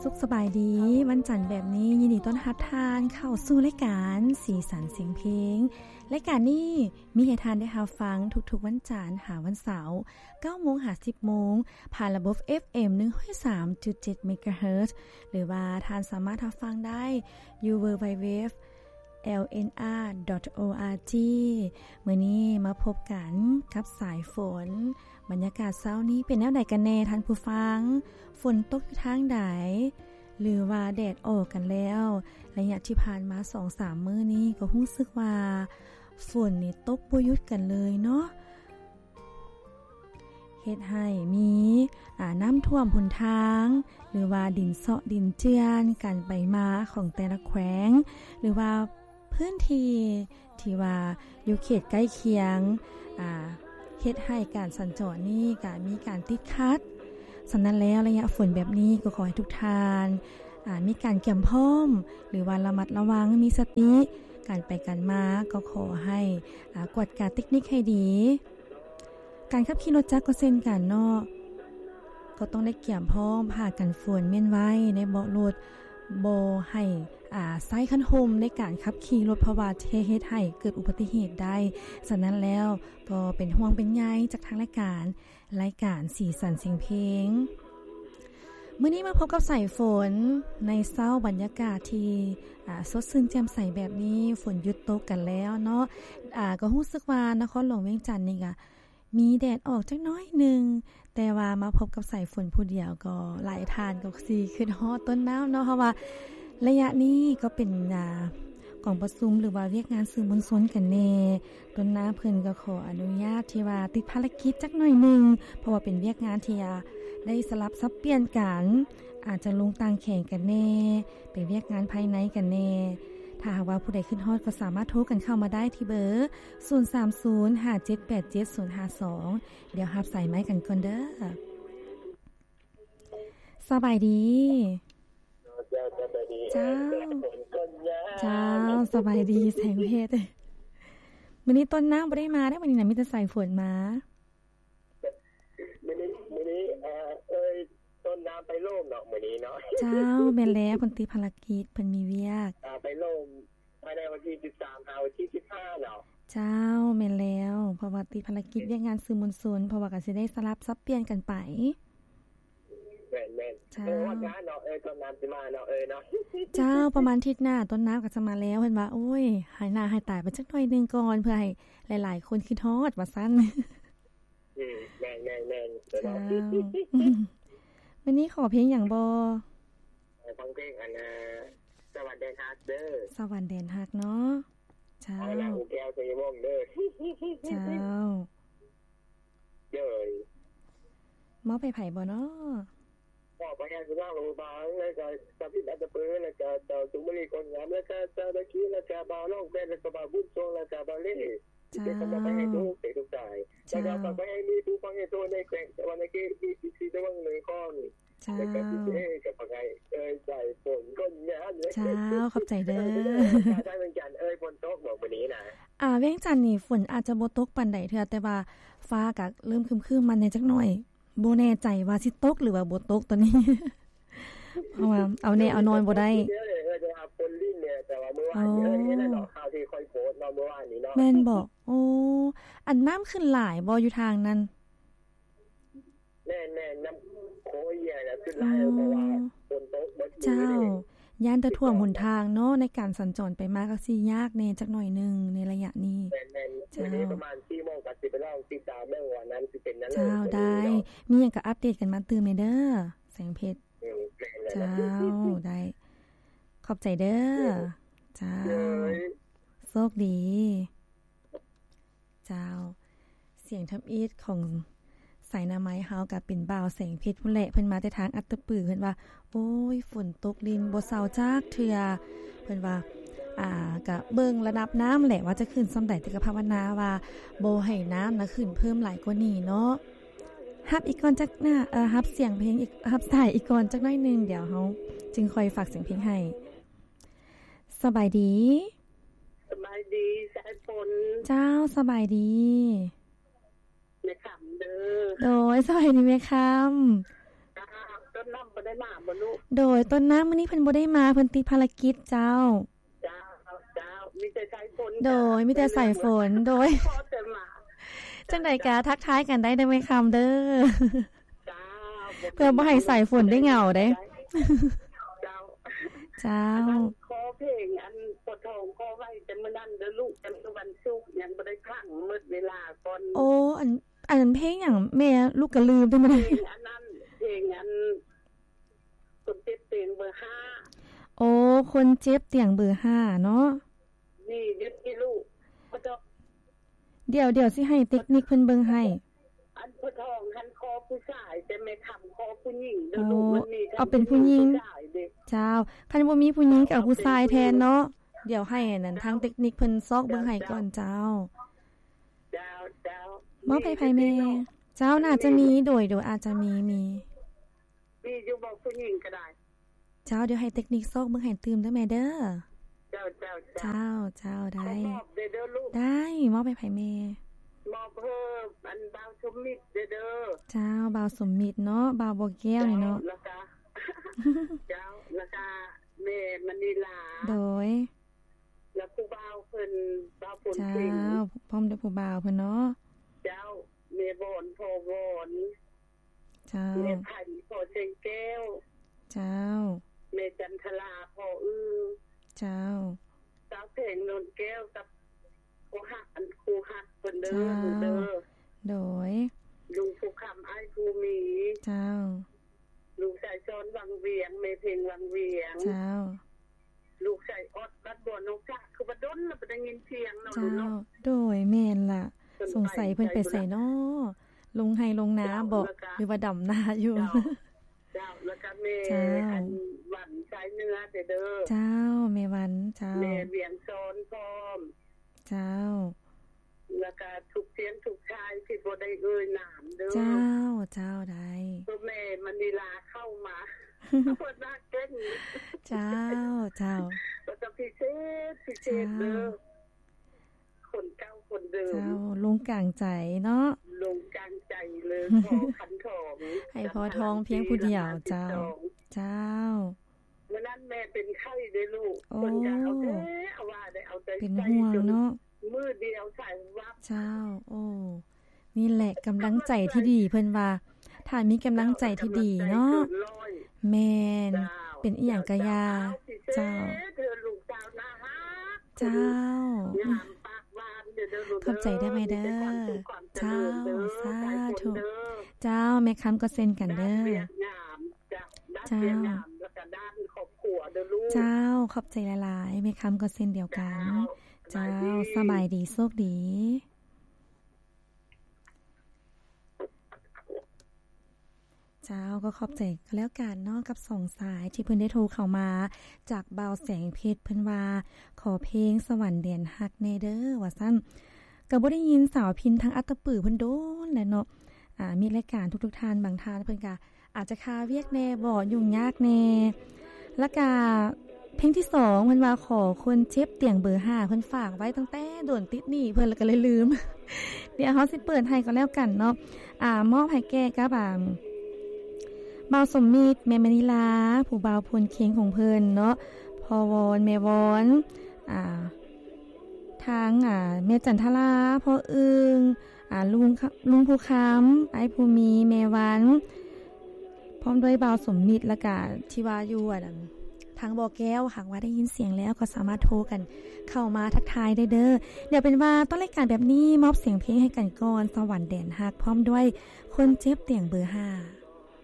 ສຸກສະບາຍດີ ວັນຈັນແບບນີ້ ຍິນດີຕ້ອນຮັບທ່ານເຂົ້າສູ່ລາຍການສີສັນສຽງເພງ. ລາຍການນີ້ມີໃຫ້ທ່ານໄດ້ຮັບຟັງທຸກໆວັນຈັນຫາວັນເສົາ ເກົ້າໂມງຫາສິບໂມງ ຜ່ານລະບົບ ເອັຟເອັມ ໜຶ່ງຮ້ອຍສາມຈຸດເຈັດ ເມກາເຮີດ ຫຼືວ່າທ່ານສາມາດຮັບຟັງໄດ້ຢູ່ ดัບເບິນຢູດັບເບິນຢູດັບເບິນຢູ ແອລເອັນອາ ດອດ ໂອອາຈີ. ມື້ນີ້ມາພົບກັນກັບສາຍຝົນ. ບັນຍາກາດເຊົ້ານີ້ເປັນແນວໃດກັນແດ່ທ່ານຜູ້ຟັງ? ຝົນຕົກຢູ່ທາງໃດ ຫຼືວ່າແດດອອກກັນແລ້ວ? ໄລຍະທີ່ຜ່ານມາສອງສາມມື້ນີ້ກໍຮູ້ສຶກວ່າຝົນນີ້ຕົກບໍ່ຢຸດກັນເລີຍເນາະ. ເຮັດໃຫ້ມີ ອາ ນ້ຳຖ້ວມຫົນທາງ ຫຼືວ່າດິນເຊາະດິນເຈື່ອນ ການໄປມາຂອງແຕ່ລະແຂວງ ຫຼືວ່າພື້ນທີ່ທີ່ວ່າຢູ່ເຂດໃກ້ຄຽງ ອາ ເຮັດໃຫ້ການສັນຈອນນີ້ກະມີການຕິດຂັດ. ສະນັ້ນແລ້ວ ໄລຍະຝົນແບບນີ້ກໍຂໍໃຫ້ທຸກທ່ານ ອາ ມີການກຽມພ້ອມ ຫຼືວ່າລະມັດລະວັງ ມີສະຕິ ການໄປການມາ ກໍຂໍໃຫ້ ອາ ກວດກາເຕັກນິກໃຫ້ດີ. ການຂັບຂີ່ລົດຈັກກໍເຊັ່ນກັນເນາະ ກໍຕ້ອງໄດ້ກຽມພ້ອມຜ້າກັນຝົນມ້ຽນໄວ້ໃນເບາະລົດ, ບໍ່ໃຫ້ ອາ ໃຊ້ຄັນຮົ່ມໃນການຂັບຂີ່ລົດ ເພາະວ່າຈະເຮັດໃຫ້ເກີດອຸບັດຕິເຫດໄດ້. ສະນັ້ນແລ້ວກໍເປັນຫ່ວງເປັນໃຍຈາກທາງລາຍການ ລາຍການສີສັນສຽງເພງ. ມື້ນີ້ມາພົບກັບສາຍຝົນໃນເຊົ້າ ບັນຍາກາດທີ່ ອາ ສົດຊື່ນແຈ່ມໃສແບບນີ້ ຝົນຢຸດຕົກກັນແລ້ວເນາະ. ອາ ກໍຮູ້ສຶກວ່ານະຄອນຫຼວງວຽງຈັນນີ້ກະ ມີແດດອອກຈັກໜ້ອຍໜຶ່ງ, ແຕ່ວ່າມາພົບກັບສາຍຝົນຜູ້ດຽວກໍຫຼາຍທ່ານກໍຊິຄິດຮອດຕົ້ນນ້ຳເນາະ, ເພາະວ່າໄລຍະນີ້ກໍເປັນ ອາ ກອງປະຊຸມ ຫຼືວ່າວຽກງານສື່ມວນຊົນກັນແດ່. ຕົ້ນນ້ຳເພິ່ນກໍຂໍອະນຸຍາດທີ່ວ່າຕິດພາລະກິດຈັກໜ້ອຍໜຶ່ງ, ເພາະວ່າເປັນວຽກງານທີ່ ອາ ໄດ້ສະຫຼັບສັບປ່ຽນກັນ, ອາດຈະລົງຕ່າງແຂວງກັນແດ່, ເປັນວຽກງານພາຍໃນກັນແດ່. ຖ້າຫາກວ່າຜູ້ໃດຄິດຮອດກໍສາມາດໂທກັນເຂົ້າມາໄດ້ທີ່ເບີ ສູນສາມສູນ ຫ້າເຈັດແປດເຈັດ ສູນຫ້າສອງ. ດຽວຮັບສາຍໄມ້ກັນກ່ອນເດີ. ສະບາຍດີ. ເຈົ້າ ສະບາຍດີ. ເຈົ້າ ເຈົ້າ ສະບາຍດີແສງເພັດ. ມື້ນີ້ຕົ້ນນ້ຳບໍ່ໄດ້ມາເດ້, ມື້ນີ້ນະມີແຕ່ສາຍຝົນມາ. ມື້ນີ້ ມື້ນີ້ ເອີ ເອີຍ ຕົ້ນນ້ຳໄປໂລມເນາະ ມື້ນີ້ເນາະ. ເຈົ້າ ແມ່ນແລ້ວ, ເພິ່ນຕິດພາລະກິດ, ເພິ່ນມີວຽກ. ອ່າ ໄປໂລມພາຍໃນວັນທີສິບສາມຫາວັນທີສິບຫ້າເນາະ. ເຈົ້າ ແມ່ນແລ້ວ, ເພາະວ່າຕິດພາລະກິດວຽກງານສື່ມວນຊົນ, ເພາະວ່າກໍຊິໄດ້ສະຫຼັບສັບປ່ຽນກັນໄປ. ແມ່ນໆ. ເຈົ້າ. ເອີຍ ຮອດງານເນາະ, ເອີຍ ຕົ້ນນ້ຳຊິມາເນາະ, ເອີຍເນາະ. ເຈົ້າ, ປະມານທິດໜ້າຕົ້ນນ້ຳກໍຈະມາແລ້ວ. ເພິ່ນວ່າ ໂອ້ຍ ຫາຍໜ້າຫາຍຕາໄປຈັກໜ້ອຍໜຶ່ງກ່ອນ ເພື່ອໃຫ້ຫຼາຍໆຄົນຄິດຮອດ ວ່າຊັ້ນ. ອືມ ແມ່ນໆໆ. ເຈົ້າ. ມື້ນີ້ຂໍເພງຫຍັງບໍ່? ຂໍຟັງເພງ ອັນ ສະຫວັນແດນຮັກເດີ. ສະຫວັນແດນຮັກເນາະ. ເຈົ້າ. ເອົາລະ ຫູແກ້ວ ໄຊຍະວົງເດີ. ເຈົ້າ. ໂດຍ. ມອບໃຫ້ໃຜບໍ່ເນາະ? ມອບໃຫ້ຍາຍສຸນາງ ຫຼວງພະບາງ ແລ້ວກະ ສາວພິນ ອັດຕະປື ແລ້ວກະ ເຈົ້າສຸມມະລີ ຄົນງາມ ແລ້ວກະ ເຈົ້າດາຄີ ແລ້ວກະ ບ່າວລອງແບນ ແລ້ວກະ ບ່າວບຸນຊົງ ແລ້ວກະ ບ່າວເລ. ເຈົ້າ. ເປັນຄຳມອບໃຫ້ທຸກເປັນທຸກສາຍ. ເຈົ້າ. ແລ້ວກະຝາກໄວ້ໃຫ້ມີຜູ້ຟັງໃຫ້ໂຕໃນແຂວງສະຫວັນນະເຂດ ມີສິບສີ່ ຕະວັງເໜືອຂອງ ເຈົ້າ. ແລ້ວກະ ເອ ກະຝາກໃຫ້ ເອີຍ ໃຈຝົນຄົນງາມ. ເຈົ້າ ຂອບໃຈເດີ. ເອີຍ ທາງວຽງຈັນ ເອີຍ ຝົນຕົກບໍ່ມື້ນີ້ນະ? ອ່າ ວຽງຈັນນີ້ຝົນອາດຈະບໍ່ຕົກປານໃດເທື່ອ ແຕ່ວ່າຟ້າກະເລີ່ມຄຶ້ມໆມາແດ່ຈັກໜ້ອຍ. ບໍ່ແນ່ໃຈວ່າຊິຕົກ ຫຼືວ່າບໍ່ຕົກຕອນນີ້ ເພາະວ່າເອົາແນ່ເອົານອນບໍ່ໄດ້. ເອີຍ ໄດ້ຮັບຝົນລິນແດ່ ແຕ່ວ່າມື້ວານນີ້ ອໍ ເອີຍ ເຫັນແລ້ວເນາະ ຂ່າວທີ່ຂ້ອຍໂພສເນາະ ມື້ວານນີ້ເນາະ. ແມ່ນບໍ່? ໂອ້ ອັນນ້ຳຂຶ້ນຫຼາຍບໍ່ຢູ່ທາງນັ້ນ? ແມ່ນໆ ນ້ຳໂຂງເອີຍນະຂຶ້ນຫຼາຍ ອໍ ເພາະວ່າຝົນຕົກໝົດມື້. ເຈົ້າ. ຢ້ານແຕ່ຖ້ວມຫົນທາງເນາະ ໃນການສັນຈອນໄປມາກໍຊິຍາກແດ່ຈັກໜ້ອຍໜຶ່ງໃນໄລຍະນີ້. ແມ່ນໆ. ເຈົ້າ. ມື້ນີ້ປະມານສີ່ໂມງກໍຊິໄປລອງຕິດຕາມເບິ່ງວ່ານ້ຳຊິເປັນແນວໃດ. ເຈົ້າ ໄດ້. ມີຫຍັງກໍອັບເດດກັນມາຕື່ມແດ່ເດີ ແສງເພັດ. ເຈົ້າ ໄດ້. ຂອບໃຈເດີ. ເຈົ້າ. ໂຊກດີ. ເຈົ້າ. ສຽງທຳອິດຂອງສາຍໜ້າໄມ້ເຮົາກະເປັນບ່າວແສງເພັດພຸ້ນແຫຼະ ເພິ່ນມາແຕ່ທາງອັດຕະປື ເພິ່ນວ່າ ໂອ້ຍ ຝົນຕົກລິນບໍ່ເຊົາຈັກເທື່ອ ເພິ່ນວ່າ ອ່າ ກະເບິ່ງລະດັບນ້ຳແຫຼະວ່າຈະຂຶ້ນສ່ຳໃດ ແຕ່ກະພາວະນາວ່າບໍ່ໃຫ້ນ້ຳນະຂຶ້ນເພີ່ມຫຼາຍກວ່ານີ້ເນາະ. ຮັບອີກກ່ອນຈັກໜ້າ ເອີ ຮັບສຽງເພງອີກ ຮັບສາຍອີກກ່ອນຈັກໜ້ອຍໜຶ່ງ ດຽວເຮົາຈຶ່ງຄ່ອຍຝາກສຽງເພງໃຫ້. ສະບາຍດີ. ສະບາຍດີ ສາຍຝົນ. ເຈົ້າ ສະບາຍດີ ແມ່ຄຳເດີ. ໂດຍ ສະບາຍດີແມ່ຄຳ. ເຈົ້າ ຕົ້ນ ນ້ຳບໍ່ໄດ້ມາບໍ່ລູກ? ໂດຍ ຕົ້ນນ້ຳມື້ນີ້ເພິ່ນບໍ່ໄດ້ມາ ເພິ່ນຕິດພາລະກິດເຈົ້າ. ເຈົ້າ ເຈົ້າ ມີແຕ່ສາຍຝົນ. ໂດຍ ມີແຕ່ສາຍຝົນ. ໂດຍ ຂໍແຕ່ມາ. ຈັ່ງໃດກະທັກທາຍກັນໄດ້ເດີແມ່ຄຳເດີ. ເຈົ້າ ເພື່ອບໍ່ໃຫ້ສາຍຝົນໄດ້ເຫງົາເດ້. ເຈົ້າ ເຈົ້າ ອັນນັ້ນຂໍເພງອັນພໍ່ທອງຂໍໄວ້ແຕ່ມື້ນັ້ນເດີລູກ ແຕ່ມື້ວັນສຸກຍັງບໍ່ໄດ້ຟັງ ໝົດເວລາກ່ອນ. ໂອ້ ອັນ ອັນເພງຫຍັງແມ່ ລູກກະລືມໄດ້ມື້ນັ້ນ. ເພງອັນນັ້ນ ເພງອັນ ຄົນເຈັບຕຽງເບີຫ້າ. ໂອ້ ຄົນເຈັບຕຽງເບີຫ້າເນາະ. ນີ້ຢູ່ທີ່ລູກ ດຽວ ດຽວຊິໃຫ້ເຕັກນິກເພິ່ນເບິ່ງໃຫ້. ອັນພໍ່ທອງຫັ້ນຂໍຜູ້ຊາຍ ແຕ່ແມ່ຄຳຂໍຜູ້ຍິງເດີລູກ. ໂອ້ ມັນມີ ເອົາເປັນຜູ້ຍິງ. ເຈົ້າ ຄັນບໍ່ມີຜູ້ຍິງກະເອົາຜູ້ຊາຍແທນເນາະ. ດຽວໃຫ້ອັນນັ້ນ ທາງເຕັກນິກເພິ່ນຊອກເບິ່ງໃຫ້ກ່ອນເຈົ້າ. ເຈົ້າ ເຈົ້າ ມອບໃຫ້ໃຜແມ່? ເຈົ້າ ໜ້າຈະມີ. ໂດຍ ໂດຍ ອາດຈະມີ ມີ ມີຢູ່ບໍ່ ຜູ້ຍິງກະໄດ້. ເຈົ້າ ດຽວໃຫ້ເຕັກນິກຊອກເບິ່ງໃຫ້ຕື່ມເດີແມ່ເດີ. ເຈົ້າ ເຈົ້າ ເຈົ້າ ເຈົ້າ ໄດ້ ຂໍມອບເດີລູກ. ໄດ້ ມອບໃຫ້ໃຜແມ່? ມອບເຮີ ອັນ ບ່າວສົມມິດເດີ. ເຈົ້າ ບ່າວສົມມິດເນາະ ບ່າວບົວແກ້ວນີ້ເນາະ. ເຈົ້າ ແລ້ວກະ ເຈົ້າ ແລ້ວກະແມ່ມະນີລາ. ໂດຍ ແລ້ວຜູ້ບ່າວເພິ່ນ ບ່າວພົນເພັງ. ເຈົ້າ ພ້ອມດ້ວຍຜູ້ບ່າວເພິ່ນເນາະ. ເຈົ້າ ແມ່ວອນ ພໍ່ວອນ. ເຈົ້າ ແມ່ໄພ ພໍ່ແສງແກ້ວ. ເຈົ້າ ແມ່ຈັນທະລາ ພໍ່ອື. ເຈົ້າ ສາວແພງ ນວນແກ້ວ ກັບຄູ່ຮັກ ອັນຄູ່ຮັກເພິ່ນເດີ. ເຈົ້າ ລູກເດີ. ໂດຍ ລຸງພູຄຳ ອ້າຍພູມີ. ເຈົ້າ ລູກຊາຍຊອນວັງວຽງ ແມ່ເພັງວັງວຽງ. ເຈົ້າ ລູກຊາຍອອດບັດບົວ ນ້ອງສາ ຄືວ່າດົນລະບໍ່ໄດ້ຍິນສຽງເນາະ. ເຈົ້າ ລູກເນາະ. ໂດຍ ແມ່ນລະ ສົງໄສເພິ່ນໄປໃສເນາະ ລົງໄຮ່ລົງນາບໍ ຫຼືວ່າດຳນາຢູ່? ເຈົ້າ ເຈົ້າ ແລ້ວກະແມ່ ເຈົ້າ ອັນ ວັນຊາຍເໜືອເດີ. ເຈົ້າ ແມ່ວັນ. ເຈົ້າ ແມ່ວຽງຊອນພ້ອມ. ເຈົ້າ ແລ້ວກະທຸກສຽງທຸກຊາຍທີ່ບໍ່ໄດ້ເອີ່ຍນາມເດີ. ເຈົ້າ ເຈົ້າ ໄດ້ ຄືແມ່ມະນີລາເຂົ້າມາ ເພິ່ນນາເກັ່ງ. ເຈົ້າ ເຈົ້າ ແລ້ວກະພິເສດ ພິເສດເດີ ເຈົ້າ ຄົນເກົ່າຄົນເດີມ. ເຈົ້າ ລົງກາງໃຈເນາະ ລົງກາງໃຈເລີຍ ພໍ່ຂັນທອງ ໃຫ້ພໍ່ທອງພຽງຜູ້ດຽວ. ເຈົ້າ ເຈົ້າ ມື້ນັ້ນແມ່ເປັນໄຂ້ເດ້ລູກ. ໂອ້ ເພິ່ນກະເອົາແທ້ເອົາວ່າໄດ້ ເອົາໃຈໃສ່ ເປັນຫ່ວງເນາະ ມື້ດຽວໃສ່ວັບ. ເຈົ້າ ໂອ້ ນີ້ແຫຼະກຳລັງໃຈທີ່ດີ ເພິ່ນວ່າ ຖ້າມີກຳລັງໃຈທີ່ດີເນາະ. ແມ່ນ ເປັນອີ່ຫຍັງກະຢ່າ. ເຈົ້າ ເຈົ້າ ເດີລູກສາວໜ້າຮັກ. ເຈົ້າ ງາມປາກຫວານເດີລູກເດີ. ຂອບໃຈເດີແມ່ເດີ. ເຈົ້າ ສາທຸ. ເຈົ້າ ແມ່ຄຳກໍເຊັ່ນກັນເດີ. ເຈົ້າ ເຈົ້າ ຂອບໃຈຫຼາຍໆ ແມ່ຄຳກໍເຊັ່ນດຽວກັນ. ເຈົ້າ ສະບາຍດີ ໂຊກດີ. ເຈົ້າ ກໍຂອບໃຈກໍແລ້ວກັນເນາະ ກັບສອງສາຍທີ່ເພິ່ນໄດ້ໂທເຂົ້າມາ ຈາກບ່າວແສງເພັດ ເພິ່ນວ່າ ຂໍເພງສະຫວັນແດນຮັກແດ່ເດີ ວ່າຊັ້ນ. ກໍບໍ່ໄດ້ຍິນສາວພິນທາງອັດຕະປືເພິ່ນດົນແລ້ວເນາະ. ອາ ມິດລາຍການທຸກໆທ່ານ ບາງທ່ານເພິ່ນກະອາດຈະຄາວຽກແດ່ບໍ ຫຍຸ້ງຍາກແດ່. ແລ້ວກະເພງທີສອງ ເພິ່ນວ່າ ຂໍຄົນເຈັບຕຽງເບີຫ້າ ເພິ່ນຝາກໄວ້ຕັ້ງແຕ່ດົນ ຕິດໜີ້ເພິ່ນ ແລ້ວກະເລີຍລືມ. ດຽວເຮົາຊິເປີດໃຫ້ກໍແລ້ວກັນເນາະ. ອາ ມອບໃຫ້ແກ່ກັບ ອາ ບ່າວສົມມິດ ແມ່ມະນີລາ ຜູ້ບ່າວພົນເຄັງຂອງເພິ່ນເນາະ ພໍ່ວອນ ແມ່ວອນ ອາ ທາງ ອາ ແມ່ຈັນທະລາ ພໍ່ອຶ່ງ ອາ ລຸງ ລຸງພູຄຳ ອ້າຍພູມີ ແມ່ວັນ ພ້ອມດ້ວຍບ່າວສົມມິດ ແລ້ວກະທີ່ວ່າຢູ່ ອັນ ທາງບໍ່ແກ້ວ ຫາກວ່າໄດ້ຍິນສຽງແລ້ວ ກໍສາມາດໂທກັນເຂົ້າມາທັກທາຍໄດ້ເດີ. ດຽວເປັນວ່າຕົ້ນລາຍການແບບນີ້ ມອບສຽງເພງໃຫ້ກັນກ່ອນ ສະຫວັນແດນຮັກ ພ້ອມດ້ວຍຄົນເຈັບຕຽງເບີຫ້າ.